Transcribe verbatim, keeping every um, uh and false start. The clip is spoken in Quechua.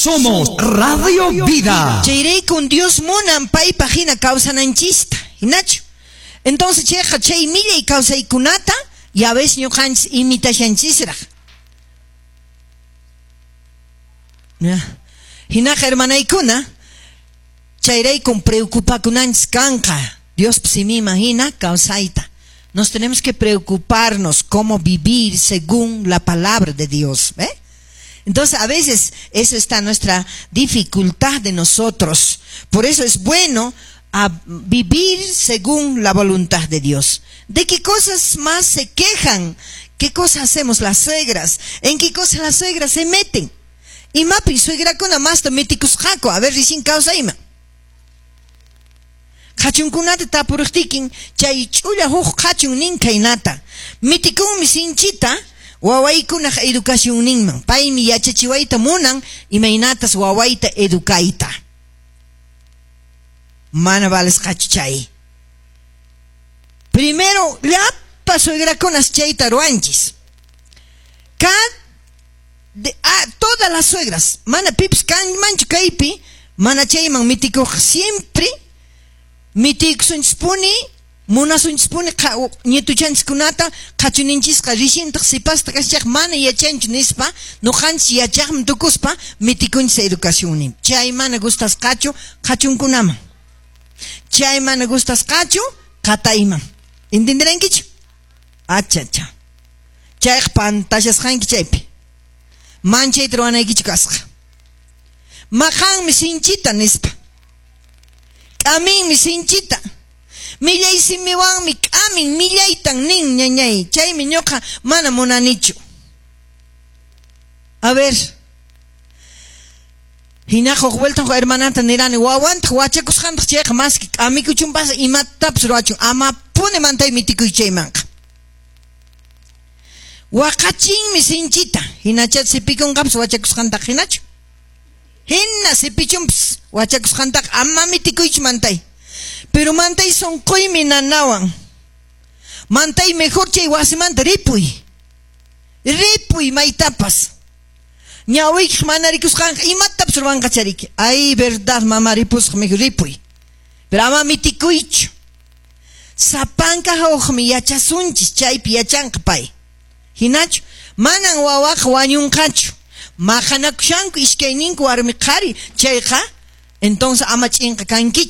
Somos Radio Vida. Chayraykun Dios munan paypaq hina kawsananchista, hinachu? Entonces chayqa chay millay kawsaykunata ya ves ñuqanchis imitashanchisraq. Hinaqa hermanaykuna, chayraykun preocupakunanchis kanqa Dios siminman hina kawsayta. Nos tenemos que preocuparnos cómo vivir según la palabra de Dios, ¿eh? Entonces, a veces eso está nuestra dificultad de nosotros. Por eso es bueno a vivir según la voluntad de Dios. ¿De qué cosas más se quejan? ¿Qué cosas hacemos las suegras? ¿En qué cosas las suegras se meten? Imapi suegrakuna masta mitikusqaku, a ver recién kawsayman. Qhachunkunata tapuriqtikin chay ch'ulla huk qhachun nin khaynata. Mitikunmi sinchita wawaykunaq educacionninman. Paymi yachachiwayta munan imaynatas wawayta educayta. Mana valesqachu chay. Primero, llapa suegrakunas chayta ruwanchis. Cada de, ah, todas las suegras, mana pips kanmanchu kaypi, mana chayman mitikuq siempre mitikusunchispuni, munasunchispuni ñituchanchiskunata qhachuninchisqa rishintaq sipasta kashaq mana yachanchu nispa, nuqanchis yachaqmi tukuspa mitikunchis educacionnin. Chay mana gustasqachu qhachunkunaman. Chay mana gustasqachu qatayman. ¿Entenderankichu? Achacha. Chayqa pantashasqanki chaypi. Manchayta ruwanaykichu kasqa. Maqanmi sinchita nispa. K'aminmi sinchita. Millay simiwanmi k'amin millaytan nin ñañay. Chaymi ñuqa mana munanichu. A ver. Hinaqa huk vuelta huk hermananta nirani wawantaq wachakusqantaq chayqa maski k'amikuchunpas imatapas ruwachun amapuni mantay mitikuy chaymanqa. Waqachinmi sinchita. Hinacha sipikunqapas wachakusqantaq hinachu. Hina sipichunpas wachakusqantaq ama mitikuychu mantay. Pero mantay sunquymi nanawan. Mantay mejor chay wasimanta ripuy. Ripuy maytapas. Ñawiykiq mana rikusqanqa imatapas ruwanqa chariki. Ay, verdad, mamá ripusqa mejor ripuy. Pero ama mitikuychu. Sapanka hawqmi yachasunchis chaypi yachanqa pay. Hinachu, manan wawaqa wañunqachu. Maqanakushanku iskayninku warmi qhari chayqa, entonces ama ch'inqa kankichu.